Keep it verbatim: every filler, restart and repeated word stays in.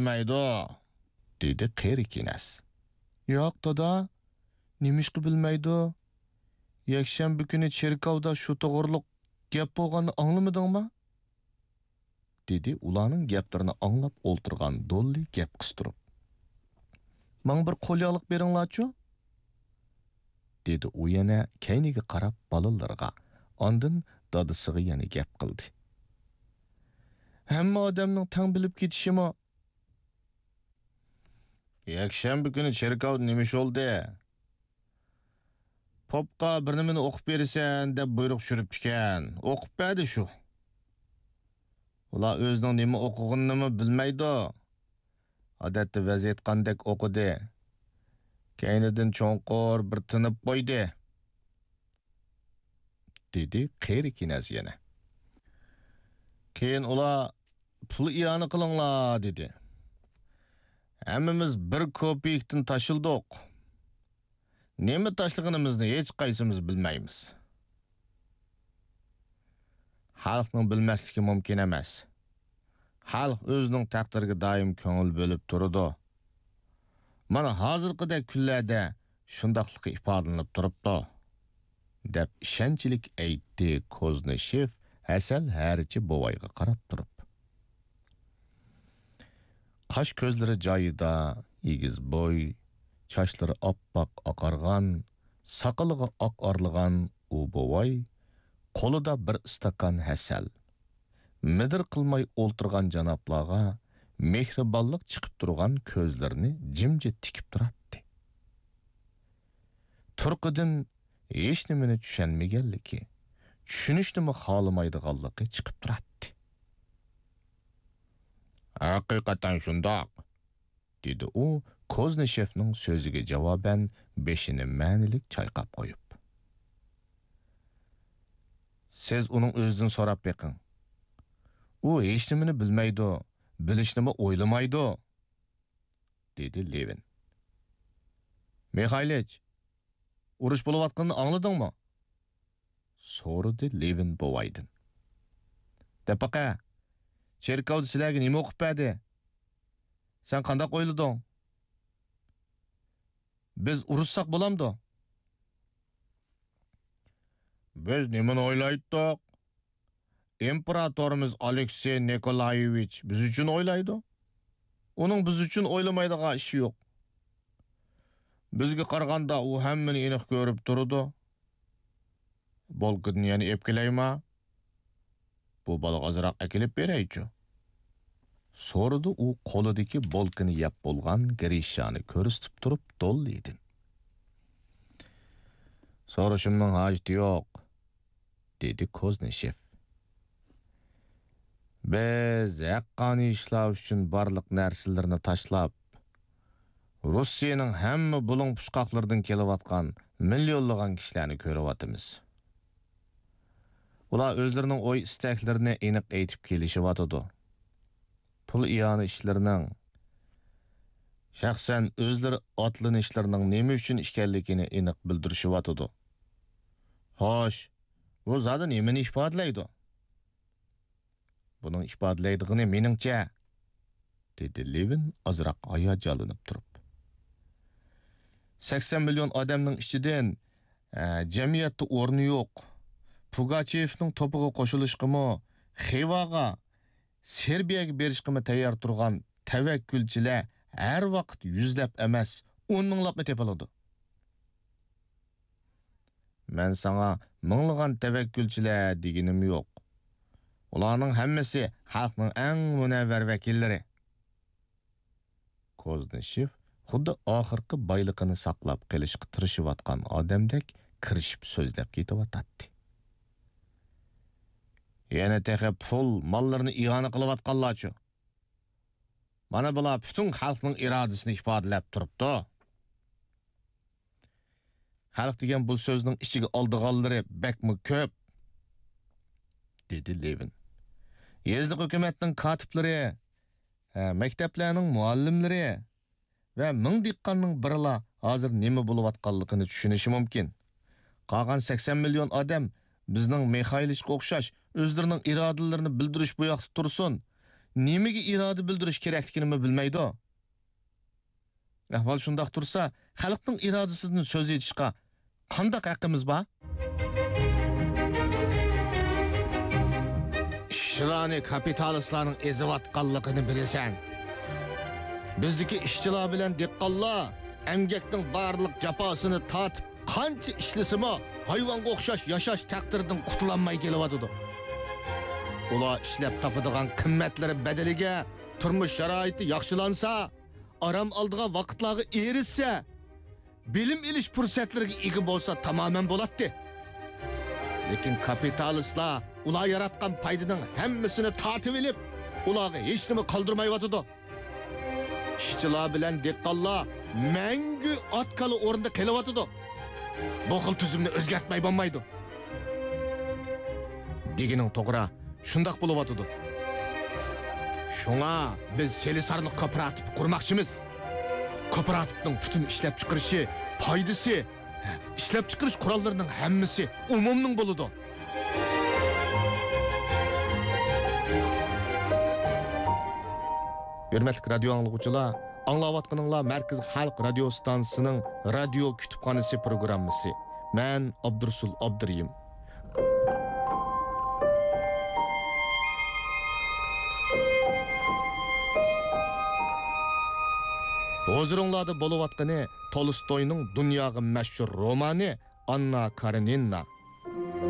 بىلمەيدۇ، دېدى قېرى كېنەز. ياق، دادا، نېمىشقا بىلمەيدۇ؟ يەكشەنبە كۈنى چېركاۋدا شۇ توغرۇلۇق گەپ بولغاننى ئاڭلىمىدىڭما؟ دېدى ئۇلارنىڭ گەپلىرىنى ئاڭلاپ ئولتۇرغان دوللى گەپ قىستۇرۇپ. ماڭا بىر قولياغلىق بېرىڭلارچۇ؟ دېدى ئۇ يەنە كەينىگە قاراپ بالىلىرىغا، ئاندىن دادىسىغا يەنە گەپ قىلدى. ھەممە ئادەمنىڭ تەڭ بىلىپ كېتىشىمۇ. يەكشەنبە كۈنى چېركاۋدا نېمە ئىش بولدى؟ پوپقا بىر نېمىنى ئوقۇپ بېرىسەن دەپ بۇيرۇق چۈشۈرۈپتىكەن. ئوقۇپ بەردى شۇ. ئۇلار ئۆزىنىڭ نېمە ئوقۇغىنىنىمۇ بىلمەيدۇ. ئادەتتە ۋەز ئېيتقاندەك ئوقۇدى. كەينىدىن چوڭقۇر بىر تىنىپ قويدى. دېدى قېرى كېنەز يەنە. كېيىن ئۇلار، پۇل ئىئانە قىلىڭلار، دېدى. ھەممىمىز بىر كوپېيكتىن تاشلىدۇق. نېمە تاشلىغىنىمىزنى ھېچقايسىمىز بىلمەيمىز. خەلقنىڭ بىلمەسلىكى مۇمكىن ئەمەس. خەلق ئۆزىنىڭ تەقدىرىگە دائىم كۆڭۈل بۆلۈپ تۇرىدۇ. مانا ھازىرقىدەك كۈنلەردە شۇنداقلىقى ئىپادىلىنىپ تۇرۇپتۇ، دەپ ئىشەنچلىك ئېيتتى كوزنىشېف ھەسەل ھەرىچى بوۋايغا قاراپ تۇرۇپ. قاش كۆزلىرى جايىدا، ئېگىز بوي، چاچلىرى ئاپئاق ئاقارغان، ساقىلىغا ئاق ئارىلىغان ئۇ بوۋاي قولىدا بىر ئىستاكان ھەسەل، مىدىر قىلماي ئولتۇرغان جانابلارغا مېھرىبانلىق چىقىپ تۇرغان كۆزلىرىنى جىمجىت تىكىپ تۇراتتى. تۇرقىدىن ھېچنېمىنى چۈشەنمىگەنلىكى، چۈشىنىشنىمۇ خالىمايدىغانلىقى چىقىپ تۇراتتى. ھەقىقەتەن شۇنداق، دېدى ئۇ كوزنىشېفنىڭ سۆزىگە جاۋابەن بېشىنى مەنىلىك چايقاپ قويۇپ. سىز ئۇنىڭ ئۆزىدىن سوراپ بېقىڭ. ئۇ ھېچنېمىنى بىلمەيدۇ، بىلىشنىمۇ ئويلىمايدۇ، دېدى لېۋىن. مىخايلىچ، ئۇرۇش بولۇۋاتقىنىنى ئاڭلىدىڭمۇ؟ سورىدى لېۋىن بوۋايدىن. دەپ باقە، چېركاۋدا سىلەرگە نېمە ئوقۇپ بەردى؟ سەن قانداق ئويلىدىڭ؟ بىز ئۇرۇشساق بولامدۇ؟ بىز نېمىنى ئويلايتتۇق؟ ئىمپېراتورىمىز ئالېكسېي نىكولايېۋىچ بىز ئۈچۈن ئويلايدۇ. ئۇنىڭ بىز ئۈچۈن ئويلىمايدىغان ئىشى يوق. بىزگە قارىغاندا ئۇ ھەممىنى ئېنىق كۆرۈپ تۇرىدۇ. بولكىدىن يەنە ئېلىپ كېلەيما؟ بۇ بالىغا ئازراق ئەكېلىپ بېرەيچۇ؟ سورىدى ئۇ قولىدىكى بولكىنى يەپ بولغان گرىشانى كۆرسىتىپ تۇرۇپ دوللىدىن. سورىشىمنىڭ ھاجىتى يوق، دېدى كوزنىشېف. بىز ھەققانىي ئىشلار ئۈچۈن بارلىق نەرسىلىرىنى تاشلاپ، روسىيەنىڭ ھەممە بۇلۇڭ پۇچقاقلىرىدىن كېلىۋاتقان مىليونلىغان كىشىلەرنى كۆرۈۋاتىمىز. ئۇلار ئۆزلىرىنىڭ ئوي-ئىستەكلىرىنى ئېنىق ئېيتىپ كېلىشىۋاتىدۇ. پۇل ئىئانە ئىشلىرىنىڭ، شەخسەن ئۆزلىرى ئاتلىنىشلىرىنىڭ نېمە ئۈچۈن ئىكەنلىكىنى ئېنىق بىلدۈرۈشۈۋاتىدۇ. خوش، بۇ زادى نېمىنى ئىپادىلەيدۇ؟ بۇنىڭ ئىپادىلەيدىغىنى مېنىڭچە، دېدى لېۋىن ئازراق ھاياجانلىنىپ تۇرۇپ. سەكسەن مىليون ئادەمنىڭ ئىچىدىن، ئە، جەمئىيەتتە ئورنى يوق، پۇگاچېۋنىڭ توپىغا قوشۇلۇشقىمۇ، خىۋاغا، سېربىيەگە بېرىشقىمۇ تەييار تۇرغان تەۋەككۈلچىلەر ھەر ۋاقىت يۈزلەپ ئەمەس، ئون مىڭلاپمۇ تېپىلىدۇ. مەن ساڭا مىڭلىغان تەۋەككۈلچىلەر دېگىنىم يوق. ئۇلارنىڭ ھەممىسى خەلقنىڭ ئەڭ مۇنەۋۋەر ۋەكىللىرى. كوزنىشېف خۇددى ئاخىرقى بايلىقىنى ساقلاپ قېلىشقا تىرىشىۋاتقان ئادەمدەك كىرىشىپ سۆزلەپ كېتىۋاتاتتى. يەنە تېخى پۇل، ماللىرىنى ئىئانە قىلىۋاتقانلارچۇ؟ مانا بۇلار پۈتۈن خەلقنىڭ ئىرادىسىنى ئىپادىلەپ تۇرۇپتۇ. خەلق دېگەن بۇ سۆزنىڭ ئىچىگە ئالىدىغانلىرى بەكمۇ كۆپ، دېدى لېۋىن. يېزىلىق ھۆكۈمەتنىڭ كاتىپلىرى، ھە، مەكتەپلەرنىڭ مۇئەللىملىرى ۋە مىڭ دېھقاننىڭ بىرىلا ھازىر نېمە بولۇۋاتقانلىقىنى چۈشىنىشى مۇمكىن. قالغان سەكسەن مىليون ئادەم بىزنىڭ مىخايلىچقا ئوخشاش ئۆزلىرىنىڭ ئىرادىلىرىنى بىلدۈرۈش بۇياقتا تۇرسۇن. نېمىگە ئىرادە بىلدۈرۈش كېرەكلىكىنىمۇ بىلمەيدۇ. ئەھۋال شۇنداق تۇرسا، خەلقنىڭ ئىرادىسىدىن سۆز ئېچىشقا قانداق ھەققىمىز بار؟ ئىشچىلارنى كاپىتالىستلارنىڭ ئېزىۋاتقانلىقىنى بىلىسەن. بىزدىكى ئىشچىلار بىلەن دېھقانلار ئەمگەكنىڭ بارلىق جاپاسىنى تارتىپ، قانچە ئىشلىسىمۇ، ھايۋانغا ئوخشاش ياشاش تەقدىرىدىن قۇتۇلالماي كېلىۋاتىدۇ. ئۇلار ئىشلەپ تاپىدىغان قىممەتلىرى بەدىلىگە تۇرمۇش شارائىتى ياخشىلانسا، ئارام ئالىدىغان ۋاقىتلارغا ئېرىشسە، بىلىم ئېلىش پۇرسەتلىرىگە ئىگە بولسا تامامەن بولاتتى. لېكىن كاپىتالىستلار ئۇلار ياراتقان پايدىنىڭ ھەممىسىنى تارتىۋېلىپ، ئۇلارغا ھېچنېمە قالدۇرمايۋاتىدۇ. ئىشچىلار بىلەن دېھقانلار مەڭگۈ ئات-كالا ئورنىدا قېلىۋاتىدۇ. بۇ خىل تۈزۈمنى ئۆزگەرتمەي بولمايدۇ. دېگىنىڭ توغرا، شۇنداق بولۇۋاتىدۇ. شۇڭا بىز سېلىسارلىق كوپىراتىپى قۇرماقچىمىز. كوپىراتىپنىڭ پۈتۈن ئىشلەپچىقىرىشى، پايدىسى، ئىشلەپچىقىرىش قوراللىرىنىڭ ھەممىسى ئومۇمنىڭ بولىدۇ. ھۆرمەتلىك رادىيو ئاڭلىغۇچىلار، ئاڭلاۋاتقىنىڭلار مەركىزىي خەلق رادىيو ئىستانسىسىنىڭ رادىيو كۇتۇپخانىسى پروگراممىسى. مەن ئابدۇرۇسۇل ئابدۇرېھىم. ھۇزۇرۇڭلاردا بولۇۋاتقىنى تولستوينىڭ دۇنياغا مەشھۇر رومانى ئاننا كارېنىنا.